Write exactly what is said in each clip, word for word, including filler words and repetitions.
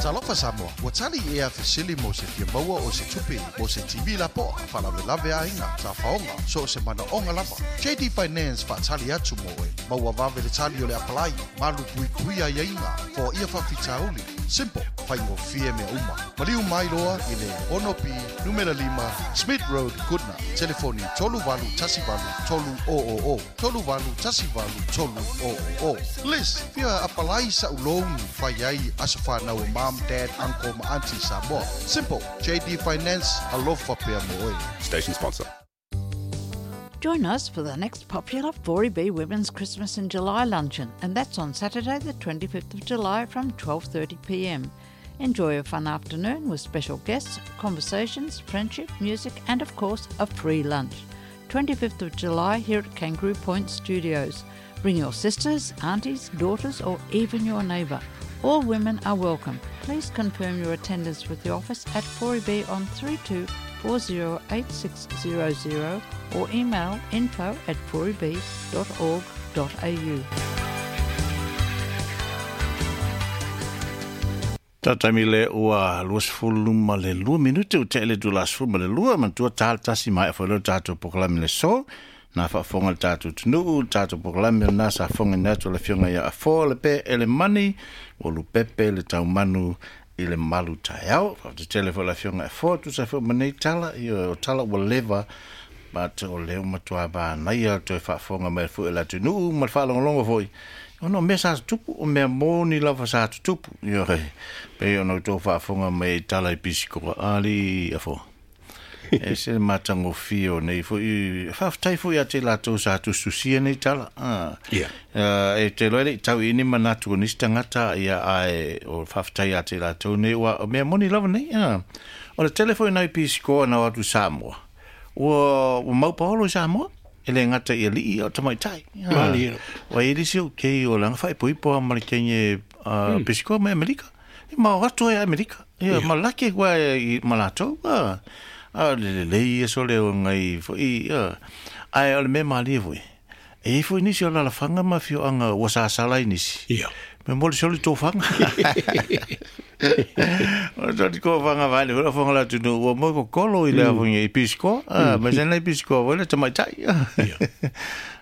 Talofa Samoa, ua tali ea fesili mo se fia maua o se tupe, mo se T V lapoa, faalavelave aiga, tafaoga, so o se manaoga lava. J D Finance faatali atu mo oe, maua vave le tali o le apalai, malu puipui aiaiga, foaia faafitauli. Simple, faigofie mea uma. Maliu mai loa i le ono P, numera lima, Smith Road, Goodna. Telefoni tolu valu tasi valu tolu o o o. Tolu valu tasi valu tolu o o o. Liz, fia apalai sa ulouni fai ai aso whanau o mom, dad, uncle ma auntie Samoa. Simple, J D Finance, alofa pea mo oe. Station sponsor. Join us for the next popular four E B Women's Christmas in July luncheon, and that's on Saturday the twenty-fifth of July from twelve thirty p m. Enjoy a fun afternoon with special guests, conversations, friendship, music and, of course, a free lunch. twenty-fifth of July here at Kangaroo Point Studios. Bring your sisters, aunties, daughters or even your neighbour. All women are welcome. Please confirm your attendance with the office at four E B on three two four zero eight six zero zero or email info at four e b dot org dot a u. Tatami le ua luasefulu ma le lua minute u te le du lasefulu ma le lua matua tal tasi mai fo le tatou pokalame le so na faafofoga le tatou atunuu le tatou pokalame lena sa fofogaina atu le afioga ia Afoa le pe ele mani ua lupepe le taumanu i le malu taeao. Faatetele foi le afioga Afoa tusa foi ma nei tala ia o tala ua leva but o leo matua manaia toe faafofoga mai foi le atunuu ma le faalogologo foi ona o mea sa tutupu o mea moni lava sa tutupu ioe pei ona outou faafofoga mai i tala i pisikoa ali Afoa. E se matagofie o nei foi faafetai foi ia te latou sa tusitusia nei tala. Ah. Yeah. Uh, e te loa le i tau ini manatu o nisi tagata ia ae o faafetai ia te latou nei ua o mea moni lava nei. Ah. O le tele foi nai pisikoa na o atu Samoa. Ua, ua maupaolo i Samoa. E le gata i alii o tamaitai. Ah. Ua e lisi o kei o langa faaipoipo a ma le kenge uh, mm. pisikoa mai Amerika. E mao atu ai Amerika. Ia, yeah. Malaki kua i ma latou. Ah. A le le lei e so le o ngai foi ia. Ai o le mea malie foi. E foi nisi o lalafanga ma fioanga ua sasala i nisi. Ia. Me moli soli tō whanga. O tō ko whanga vai le whanga la tunu ua moi ko kolo i le awhunga i pisikoa. Ah, ma sena i pisikoa voi le tamaitai. Ia.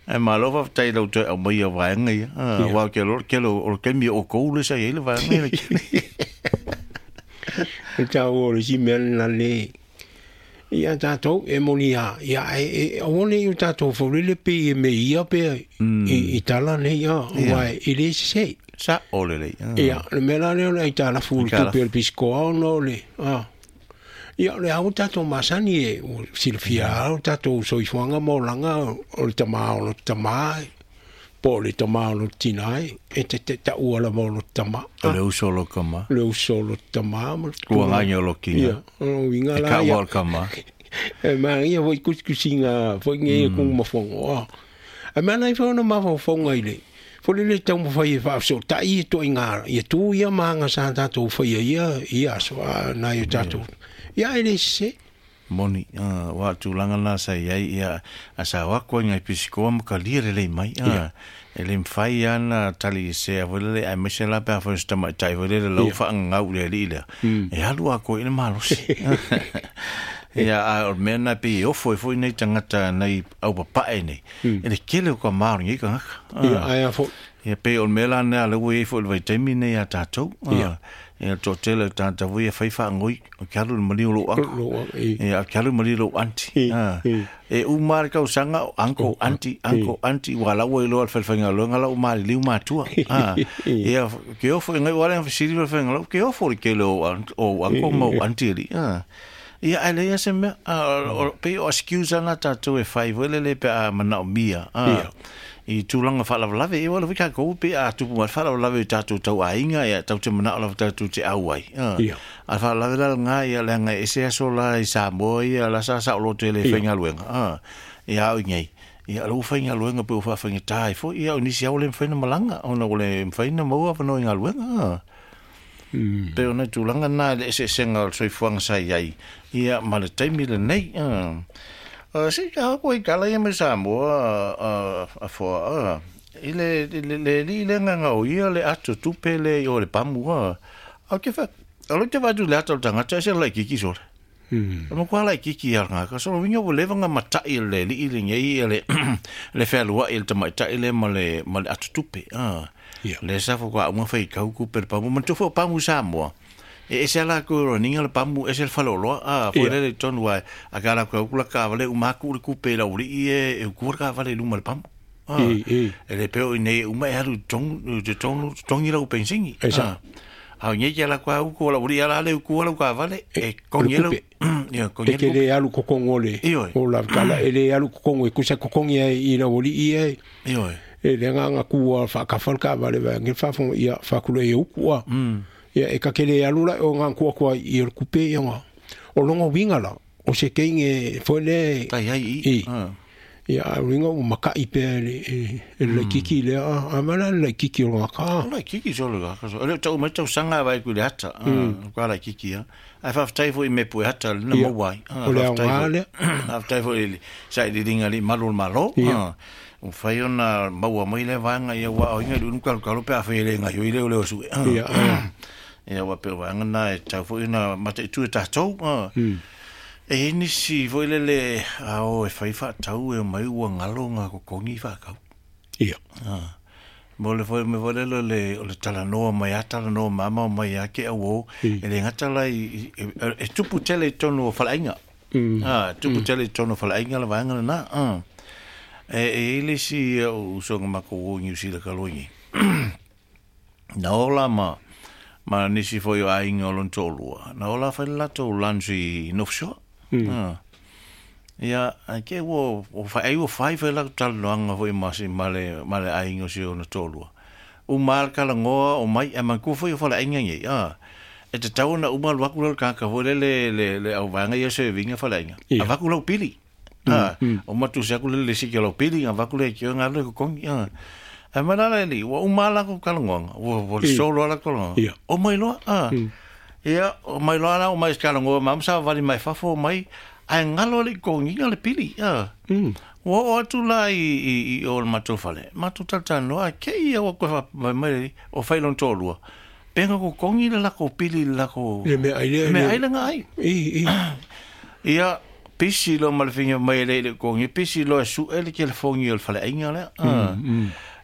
Ai malo faafetai lau toe aumaia vaega ia. Ah, Ia. Wa ke lo ke lo o ke mi o kou le sa i le vaega ia. E tau o le si mea lena le ia tātou e moni a ia e e aua nei o tātou faulele pe e me ia pe i i tala nei a Ia. wa e le se Sa o le lei. Ia le mea la lea o le aitalafu o le Aitalafu. tupe o le pisikoa ona o le a ia le au tātou masani e o silafia au tātou soifuaga ma olaga o le tamā o lo tamā po o le tamā o lo tina e e te te taua lava o lo tamā. O le uso o lo kama. Le uso o lo tamā ma le Ua ngāi o lo kinga. Ia, o lo uiga E la ka ia. ua o le kama. E magia foi kusikusiga foi nge mm. kung mafongo. Ah. E mana i whaona mawhawhaunga i le. Fole le tau mawhai e whaafso tai e toi ngā. Ia tū ia maanga sa tātou whaia ia, ia aso a nai o tātou. Ia e le se. Moni, uh, wa tūlanga nā sa iai ia a sa wako ngai pisikoa ma ka lia le lei mai. Uh, Ia. E le mwhai ana tali i se a le ai mese la pea whai tamai tai whai le lau Ia. whaangau le li lea. Mm. E halu a koe i le malosi. Ia, a o mea nā pe i ofo e foi nei tangata nei au papae nei. Mm. E le kele o ka maori ngai ka ngaka. Ia, Ah. ai a fo. Ia pe o le mea la nea le ue e foi le vaitaimi nei a tātou. Ah. Ia. Ia tō tele tāta vui e whai whaangoi o ke alu le mali o lou anko. Lo, i. Ia, ke alu mali lou auntie. I, Ah. i. E umā le kausanga o anko, O, auntie, i. anko, auntie, wa lau e loa le whalewhainga loa, ngā lau maari liu mātua. Ah. Ia, ke ofo, ngai wale ang whasiri whalewhainga lau, ke ofo le kele o an- o anko ma o auntie li. Ah. Ia, ai leia se mea, ah, o- o- pe o excuse ana tātou e whai, wele le pe a manao mia. Ah. Ia. I tūlanga whaalavelave, e wala wika kou pe a tupu mai whaalavelave i tātou tau ainga, ia tau te manao lava tātou te au ai. Ah. Ia. A whaalavelave la ngā ia le anga ese aso la i Samoa ia la sa sa o loto e le Ia. whaingaluenga. Ah. Ia au i ngei. Ia lo whaingaluenga pe o whawhainga tāi fo, ia o nisi au le mwhaina malanga, ona o le mwhaina maua whanau i ngaluenga. Ah. Mm. Pe ona tūlanga nā le ese esenga o le soifuaga sa iai. Ia ma le taimi lenei. Ah. Uh, se ka ko i kala ia me Samoa uh, a foa uh, i le le le li le nganga o ia le ato tupe le o le pamu a. A ke fa Alo te vatu le ata o tangata se la kiki sore. Mm. Mo kwa la kiki ya nga ka so winga wo leva nga matai le li le ngei le le felua il te matai le ma le ma le atutupe. Ah. Le sa fo kwa uma fai kau ku per pamu man tofo pamu Samoa. E ese ala ko ro ninga le pamu ese le falolo a fo le le tonu ai a kala ko kula ka vale uma ku le kupe la uri e e ku ka vale luma le pamu. Ah. E le peo nei uma e alu tong te tonu tongi la upensingi. Ah. A nge ke la kwa u ko la uri ala le ku la ka vale e kongi la ya kongi le le alu kokongo le o la kala e le alu kokongo e kusa kokongi e i la uri e e le nganga ku fa ka fa ka vale va nge fa fo ia fa ku le u a ia e ka kele alu la o nga ku ku i o kupe ia o longo winga la o se keinge fo le tai ai i ia ringa o makai pe le le kiki le a mala le kiki o ka le kiki so le ka so le tau mai tau sanga vai ku le ata ka la kiki a ai fa tai fo i me pu ata na mo wai o le ngale fa tai fo i sa i ringa li malo malo o fai ona maua mai le vanga ia wa o inga lu ka ka lo pe a fe le nga yo ile le o su ia ia wa pe vanga na e tau fo ina mate tu ta tau e nisi foi le le ao e fai whaatau e mai ua ngalo ngā kokongi whaakau. Ia. Ah. Mo le foi me foi le le o le talanoa mai a talanoa mama mai a ke au e le ngata la i e tupu tele tonu o whalainga. Ah, tupu tele tonu o whalainga la vaanga na. Ah. E e le si o usonga mako o New Zealand kaloingi. Na ola ma ma nisi foi o ainga o lontolua. Na ola whai lato lunch i North Shore. Mm. Ah. Ia, ke wo o fa ai o fai fa la talanoanga foi ma si male male ainga si ona tolua. O mal kala ngoa o mai a man ku foi o fala ainga ngi. Ah. E te tau na uma lu aku ka ka foi le le le au vanga ia se vinga fala ainga. A vaku lau pili. Ah, o matu se aku le si ke lau pili a vaku le ki nga le ko kongi. Ah. A mana le li o mala ko kala ngoa. O o solo ala ko. O mai loa. Ah. Ia, o mai loa la o mai skala ngoa mam sa vali mai fafo mai ai ngalo le kongi le pili. Ah. Wo o atu la i i i o matou fale. Matou talanoa a ke ia o ko mai mai o fai lon tolua. Penga ko kongi le la ko pili la ko. Le me ai le me ai la ngai. I i. Ia pisi lo malfinga mai le le kongi pisi lo su ele telefoni o fale ainga le. Ah.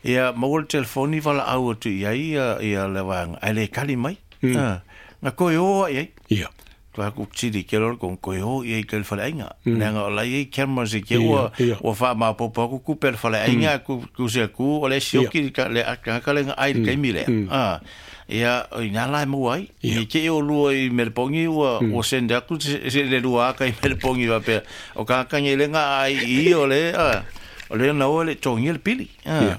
Ia mo le telefoni vala au atu ia ia ia le wanga ai le kali mai. Ah. Nga koe o ai. Ia. Tua ku tiri ke lor kon koe o i ke whale ainga. Nanga o lai cameras se ke ua ua wha ma popo ku ku per whale ainga ku ku se ku o le sioki ka le ka ka le ai ke mi le. Ah. Ia o ina lai mo ai. I ke o lua i Melpongi ua o senda ku se le lua ka i Melpongi wa pe. O ka ka nge le nga ai i o le ah. O le na o le tongi le pili. Ah.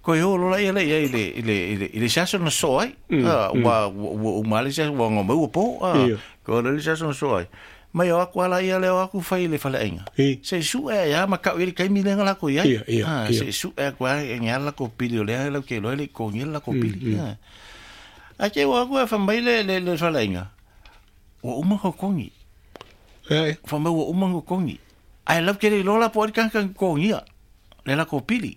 Ko yo lo la ile ile ile ile ile saso no so ai ah wa wa mali sa wa ngo mo po ah ko le saso no so ai mai o kwa la ia le o ku fai le fale ainga se su e ya ma ka ile kai mi le la ko ia ah se su e kwa e nya la ko pili le la ke lo le ko ni la ko pili a ke wa ko fa mai le le le fale ainga o uma ko kongi eh fa mai o uma ko kongi ai la ke le lo la po kan kan kongi le la ko pili.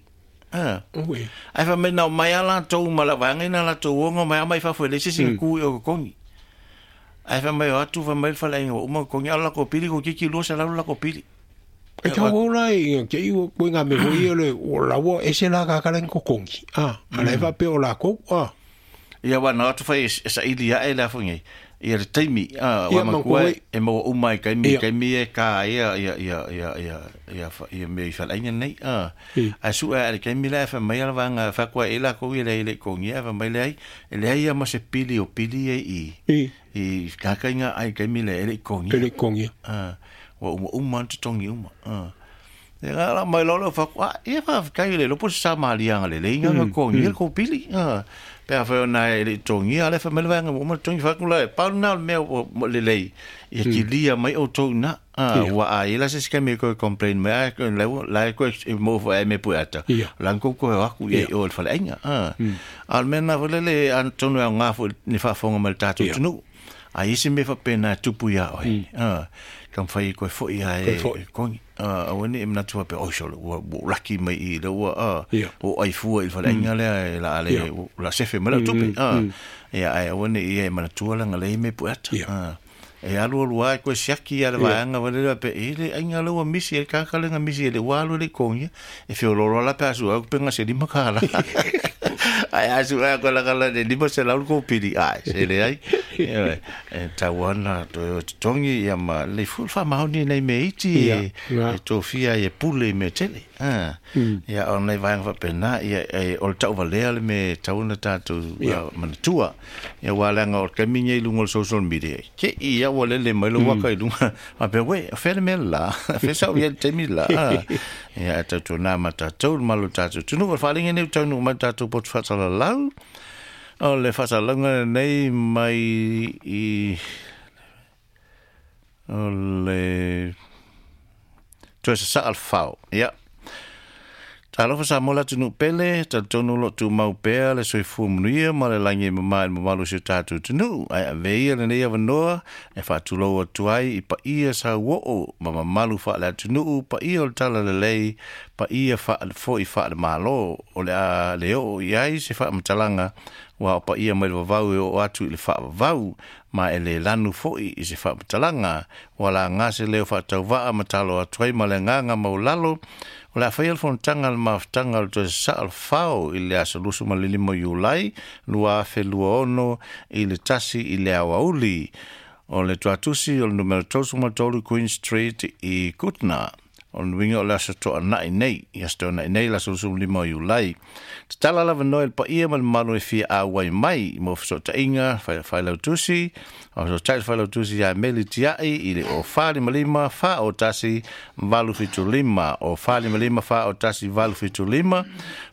Ah. Ui. Ai fa mai nau mai ala tou mala vanga ina la tou ongo mai mai fa foi le sisi ku o kongi. Ai fa mai atu fa mai fa lai o uma kongi ala ko pili ko kiki lo sa la ko pili. E ka o lai ke i o ko nga me ho i le o la wo e se la ka ka ko kongi. Ah, ala fa pe o la ko. Ah. Ia wa na atu fa sa ili ia e la fo ngi. Ia le taimi ah wa ma ku e mo o mai kai mi kai mi e ka ia ia ia ia ia ia ia me i fa lai nei ah a su a le kai mi la fa mai ala vanga fa kwa ela ko i le le ko ngi fa mai le ai le ia ma se pili o pili e i i ka kai nga ai kai mi le le ko ngi le ko ngi ah wa o uma tongi uma ah e la mai lo fa kwa e fa kai le lo po sa ma li le le nga ko ngi ko pili ah pe a whai ona e le tongi a le whamele wanga o ma tongi whakula e pau nā mea o le lei ia ki lia mai o tau na ua a ila se sika me koe complain me a koe lau lai koe e mō wha e me pui ata lan kou koe aku ia i o le whale ainga a le mea nā whale le an tonu au ngā fo ni whaafonga mai le tātou tunu Ai isi me faapena e tupu iā oe. A, taumafai ai koe fo'i ae togi. A, aua ne'i manatu faapea, oi sole, ua ua ou laki mai i i le ua, a, ua ou aifua i le faleaiga lea e la a le, la sefe mai lau tupe. A, ia ae aua ne'i ia e manatua leaga leai mea pueata. A, e alualu lava e koe siaki ia le vaega wale lea pe e le aiga lea ua misi e le kāka lea na misi e le ua alu e le i kogia. E feoloolo lava la pe a sue atu pe gase lima kālā. Ae a sue atu la kala le lima selau le kopili, ae se leai. Ioe, e tatau lava ona toe o e totogi ia ma lelei foi le faamaoni i nai mea iti e e tofia ai e pule i mea tele. A, ia o nai vaega faapena, ia e o le tauvalea le mea e tatau ona tatou manatua. Ia aua leaga o le taimi lenei i luga o le social media, te i ia ua lele mai lou aka i luga, faapea, uē, o fea le mea le la? Fea sa ou i ai i le taimi le la? A, ia ae tautuana ma tatou le malu o le tatou atunuu. O le faaaliga lenei ua taunuu mai i le tatou poto faasalalau, o le faasalalauga lenei mai i o le toe sasaa le fao. Ia. Talofa Samoa le atunuu pele, talitonu o lo o tumau pea le soifua manuia ma le lagi e mama i le mamalu o si o tatou atunuu. Ae ave ia lenei avanoa e faatulou atu ai i paia sauoo ma mamalu faale-atunuu, paia o le Talalelei, paia faale-foi faale-Malo o le a le oo i ai se faamatalaga ua o paia mai le vavau e oo atu i le faavavau, ma e le lanu foi i se faamatalaga. Ua laga se leo faatauvaa ma talo atu ai ma le agaga maualalo, o le a faia le fonotaga a le mafutaga o le toe sasaa o le fao i le aso luasefulu ma le lima o Iulai lua afe lua ono i le tasi i le aoauli. O le tuatusi o le numera tolu ma tolu Queen Street i Goodna. O le uiga o le aso Toanai nei, i aso Toanai nei, le aso luasefulu ma lima o Iulai. Tatala lava noe le paia ma le mamalu e fia auai mai mo fesootaiga failautusi, o fesootaiga le failautusi ia Meli Tiai i le o fa lima lima fa o tasi valu fitu lima, o fa lima lima fa o tasi valu fitu lima,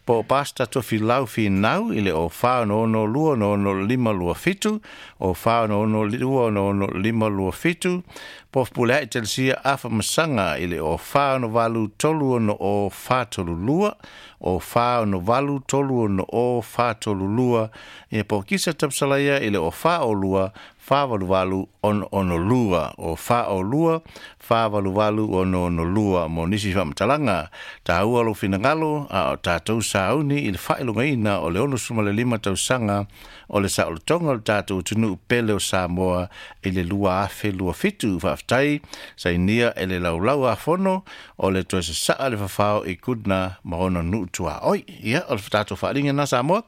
po o Pastor Tofilau Finau i le o fa ono ono lua ono ono lima lua fitu, o fa ono ono lua ono ono lima lua fitu, po o Fepuleai Telesia Afa Masaga i le o fa ono valu tolu ono o fa tolu lua, o fa ono valu tolu ono o fa tolu lua, ia po o Kisa Tapsalaia i le o fa o lua fa valu valu ono ono lua, o fa o lua fa valu valu ono ono lua mo nisi faamatalaga. Taua lou finagalo a o tatou sauni i le faailogaina o le ono sefulu ma le lima tausaga o le saolotoga o le tatou atunuu pele o Samoa i le lua afe lua fitu. Faafetai sainia e le laulau a fono o le toe sasaa le fafao i Goodna ma ona nuu tuaoi. Ia, o le tatou faaaliga lena Samoa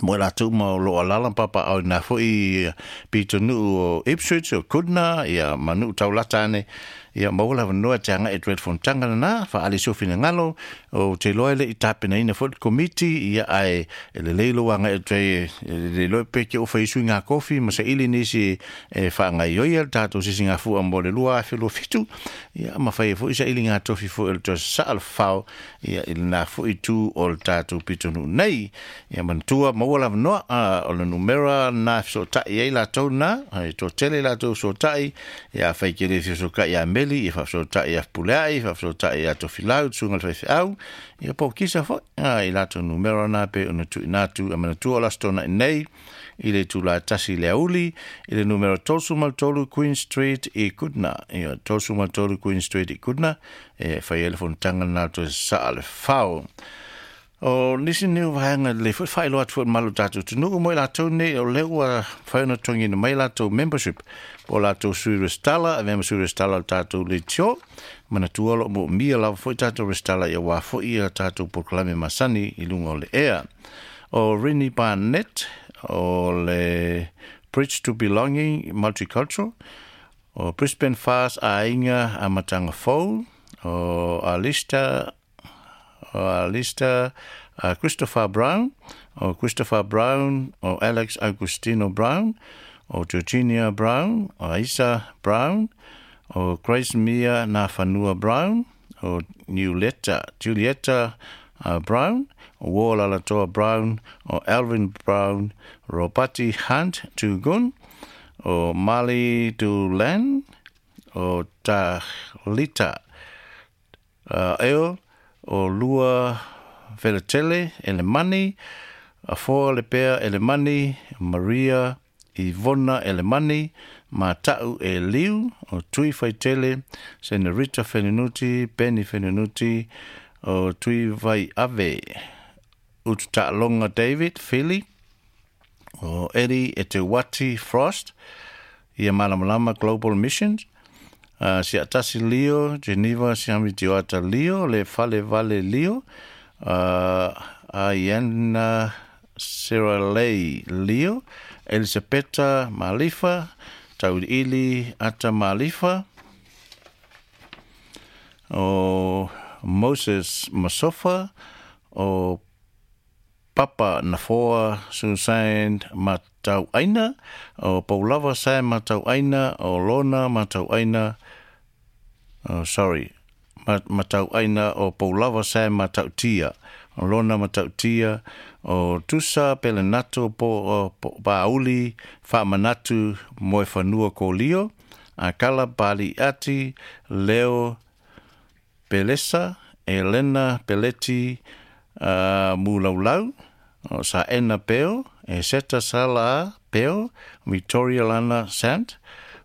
mo i latou ma o lo o alaala ma papaaao i na foi pitonuu o Ipswich o Goodna ia ma nuu taulata ane. Ia maua le avanoa e te agai atu ai le fonotaga lena, faaali se finagalo, ou te iloa e le i tapenaina foi le komiti, ia ae e lelei lou agai atu ai e le iloa pe te oo fai sui ngā kofi ma saili nisi e faagaioia le tatou sisigafua mo le lua afe lua fitu, ia ma fai ai foi saili ngā tofi foi o le toe sasaa le fao ia i lena foi itu o le tatou pitonuu nei. Ia manatua maua le avanoa, a o le numera lena e fesootai ai latou lena, e toatele latou fesootai, ia afai ke le fesootai ia Meli, ia faafesootai ia Fepuleai, faafesootai ia Tofilau, susuga i le faifeau, ia po o Kisa foi, a i latou numera lena pei ona tuuina atu. E manatua o le Aso Toonai nei i le itula e tasi i le aoauli i le numera tolu ma le tolu Queen Street i Goodna, ia tolu ma le tolu Queen Street i Goodna, e fai ai le fonotaga lena toe sasaa le fao. O nisi nei o vaega lelei foi faailoa atu foi i le malu o tatou atunuu mo i latou nei o lea ua mafai ona totogiina mai latou membership po o latou sui resitala, avea ma sui resitala o le tatou leitio. Manatua o lo o moomia lava foi tatou resitala aua foi a tatou polokalame masani i luga o le ea. O Rini Barnett o le Bridge to Belonging Multicultural, o Brisbane Fast Aiga Amataga Fou, o Alista o Alistair uh, Christopher Brown, o Christopher Brown, o Alex Augustino Brown, o Georginia Brown, o Aisa Brown, o Grace Mia Nafanua Brown, o Niuleta, Julieta uh, Brown, o War Lalatoa Brown, o Alvin Brown, Robati Hunt Tugun, o Mali Dulan, o Tahlita uh, Eo, o Lua Veletele Elemani, Afoa Lepea Elemani, Maria Ivona Elemani, Mata'u e Liu, o Tui Faitele, Senorita Fenunuti, Benny Fenunuti, o Tui Vai Ave, Ututa'alonga David Philly, o Eddie Etewati Frost, ia Malamalama Global Missions, uh, Siatasi Leo, Geneva Siami Tioata Leo, Le Fale Vale Leo, uh, Ayana Siralei Leo, Elisabetta Malifa, Tauili Ata Malifa, o Moses Masofa, o Papa Nafoa Susan Matauaina, o Paulava Sam Matauaina, o Lona Matauaina, oh, sorry, Matauaina, o Paulava Sam Matautia, o Lona Matautia, o Tusa Pelenato po, po Pauli Faamanatu Moefanua Kolio, Akala Paliati Leo Pelesa, Elena Peleti uh, Mulaulau, o Saena Peo, Eseta Sala Peo, Victoria Lana Sant,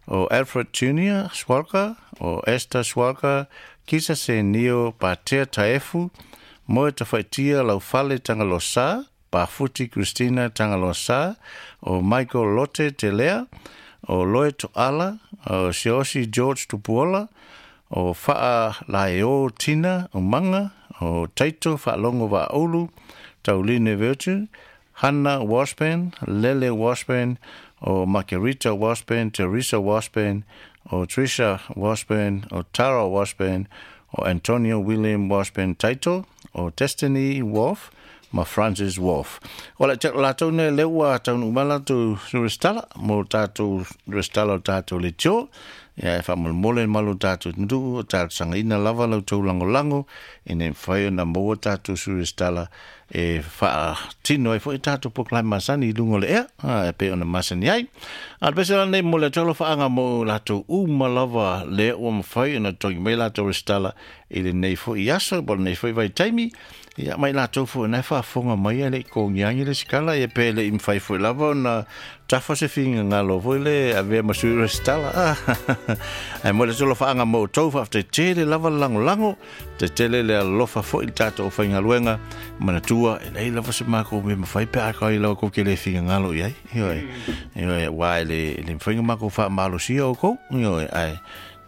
o Alfred Junior Swalka, o Esther Swalka, Kisa Se Nio Patea Taefu, Moe Tawhaitia Laufale Tangalosa, Pafuti Christina Tangalosa, o Michael Lotte Telea, o Loe To'ala, o Siosi George Tupuola, o Faa Laeo Tina o Manga, o Taito Faalongo Va'aulu, Tauline Virtue, Hannah Washburn, Lele Washburn, o Margarita Washburn, Teresa Washburn, o Trisha Washburn, o Tara Washburn, o Antonio William Washburn Taito, o Destiny Wolf, ma Francis Wolf. O la latou ne leua taunu umala tu restala, mo tātou restala o tātou le tio, ia e whaamolmole malo tātou ndu, o tātou sangaina lava lau tau langolango, e ne mwhai na maua tātou su restala e wha tino e fo i tātou poklai masani i lungo le ea, e pe ona masani ai. A pese la nei mo le tolo whaanga mo lātou uma lava le ua mwhai na tongi mai lātou restala i le nei fo i aso, bo le nei fo i vai taimi, ia mai lātou fo nei whaafonga mai a le kongiangi le sikala, e pe le imwhai fo i lava na tafa se finga ngalo fo i le avea masui restala. Ai mo le tolo whaanga mo tau whaafte tele lava lango lango, te tele le alofa fo i tātou o whaingaluenga, manatua e lei lava se mako me mawhai pe aka i lawa kou ke le finga ngalo i ai. Ioi, ioi, wā e le, le mwhainga mako wha malosia o kou, ioi, ai.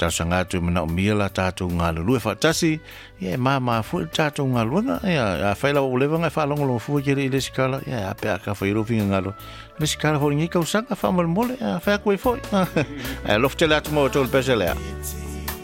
Tau atu mana o mia la tātou ngā lulue whaatasi, ia e māmā fo i tātou ngā luenga, ia a whaila o lewanga e whaalongolo fua ke le i le sikala, ia a pea ka whairo finga ngalo. Le sikala fo ngi kausanga whaamolmole, a whea koe foi. A loftele atu mo tōl pese lea.